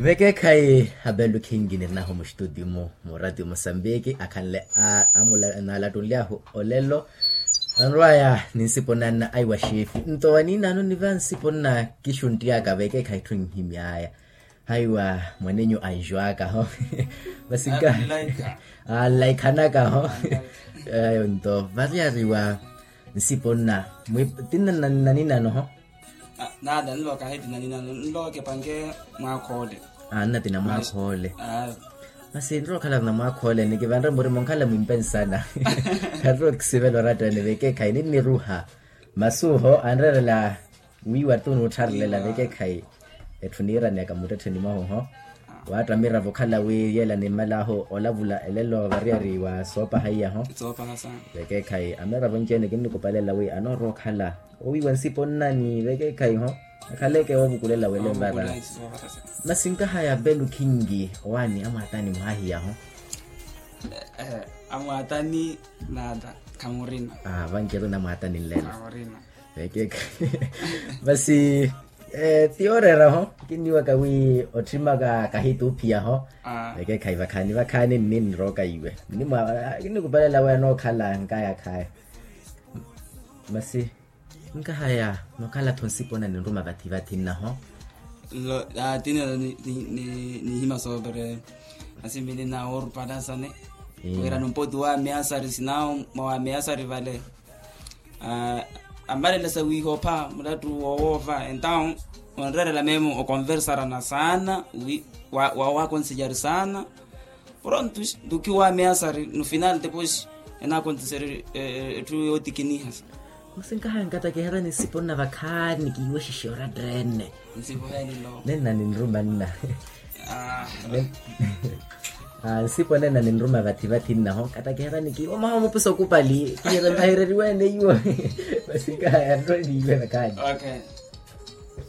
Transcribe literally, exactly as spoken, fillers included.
Vekeekhayi abelukhinki nirinahu mustutio mu muratio musambiki akhanle a amula naalattunly'ahu olelo. Anrw'aya ninsipo nanna aiwa xeefi nto waniinano niva nsipo nna kixuntty'aka vekeekhayi etthu nhimy'aya. Haiwa mwanenyu anjw'aka ho. Vasinkaha anlaikhanaka ho. Ayo nto variyariwa nsipo nna tinna nnaninano ho. Nada nlooka heti naninano nlooke panke mwaakhoole. Anna tina mwaakhoole. Masi nrookhala na mwaakhoole nikivanre murimo nkhala mwimpe nsana. Khanrookisivela oratta ene vekeekhayi ninniruha. Masi oho anreerela wiiwa tu nuuttharelela vekeekhayi. Etthu niiraneyaka muttettheni mwahu ho. Waatta miravo okhala wi yeela nimmal'ahu olavula elelo variyari wa soopaha iya ho. Vekeekhayi amiravo nci-ene kinnikupalelela wi anoorowa okhala owiiwa nsipo nna ni vekeekhayi ho. Akhaleke woovukulela wele mbara. Masi nkahaya belukhinki owaani amwaatani mwaahiya ho. Amwaatani nata khamurina. Vanci-ene amwaatani nlelo. Vekeekhayi masi tiyooreera ho. Kinniwaka wi ottimaka kahituuphiya ho. Vekeekhayi vakhaani vakhaani nninrooka iwe. Kinnikupalela wi anookhala nkaya khaya. Masi nkahaya nookhala-tho nsipo nna ninruma vathi vathi nnaho. Nlo tinelo nihima soopere. Masi mili na oorupalazane wira numpoti wa ameasari sinawo mwa wa ameasari vale. Ammalelesa wiihopha mulattu wowoova entawo onreerela memo okonversarana saana. Wi wawaakonsejari saana. Pronto ntukiwa ameasari no final depois enaakontiseri etthu yootikiniha. Masi nkahaya nkatakiherani nsipo nna vakhaani kiiwe xixiyo oratta ene. Nsipo heenilo nenna ninruma nna. Nsipo nenna ninruma vathi vathi nnaho nkatakiherani kiiwe mwaha omupusa okupali kiirembahereriwe ene iwo. Masi nkahaya nrowe niiwe vakhaani.